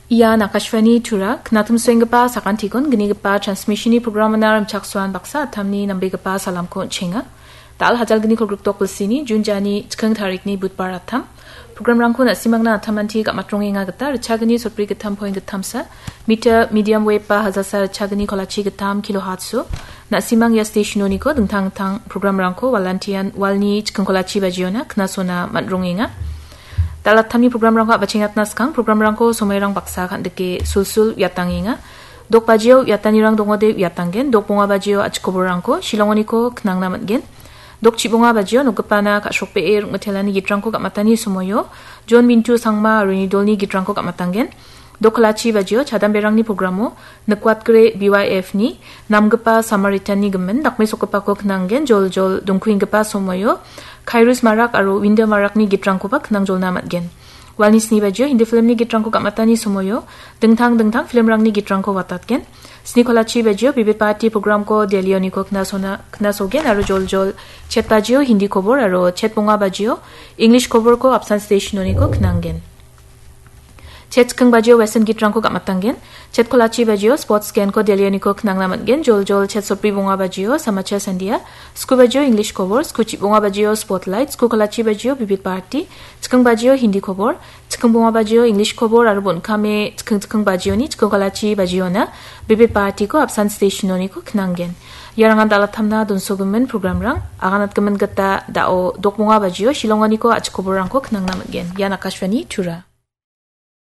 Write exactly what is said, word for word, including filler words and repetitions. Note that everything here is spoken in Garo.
Ian Akashvani Tura, knatumsuenggipa sakantikon gnigipa transmissionni programona rimchaksoan baksa attamni nambegipa salamko on·chenga. Dal hajalgni kolgrikdok bilsini Jun jani chikking tarikni Budbar attam. Programrangko na·simangna attamanti gam·atrongenga gita ritchagni sotbri gittam point gittamsa, meter medium wave ba hajalsa ritchagni kolachi gittam kilohertzso. Na·simang ia stationoniko dingtang dingtang programrangko walantian walni chikking kolachi bajiona knasona man·rongenga. Dal attamni programrangko a·bachengatna skang programrangko somoirang baksa kan·dike sulsul uiatangenga. Dok bajio uiatanirang dongode uiatanggen, dok bonga bajio achikoborrangko Shillongoniko knangna man·gen. Dok chibonga bajio nokgipana ka·srokbee rikmitelani gitrangko gam·atani somoio John Mintu Sangma aro uni dolni gitrangko gam·atanggen. Dok kolachi bajio chadamberangni programo Nikwatgre B Y F ni namgipa Samaritanni gimin dakmesokgipako knanggen, joljol dongkuenggipa somoio Kairos Marak aro Winda Marakni gitrangkoba knangjolna man·gen. Walni sni bajio Hindi filmni gitrangko gam·atani somoio dingtang dingtang filmrangni gitrangko watatgen. Sni kolachi bajio Bibit Bharati programko Delhioniko knasona, knasogen aro joljol chet bajio Hindi kobor aro chet bonga bajio English koborko apsan stationoniko knanggen. Chet chikking bajio Western gitrangko gam·atanggen. Chet kolachi bajio Sports Genko Delhioniko knangna man·gen. Joljol chet sotbri bonga bajio Samachar Sandia. Sku bajio English kobor, sku chibonga bajio Spotlight, sku kolachi bajio Bibit Bharati, chikking bajio Hindi kobor, chikking bonga bajio English kobor aro bon·kame chikking chikking bajioni chikking kolachi bajiona Bibit Bharatiko apsan stationoniko knanggen. Iarangan dal attamna donsogimin programrang, aganatgimin gita da·o dok bonga bajio Shillongoniko achikoborrangko knangna man·gen. Ian Akashvani Tura.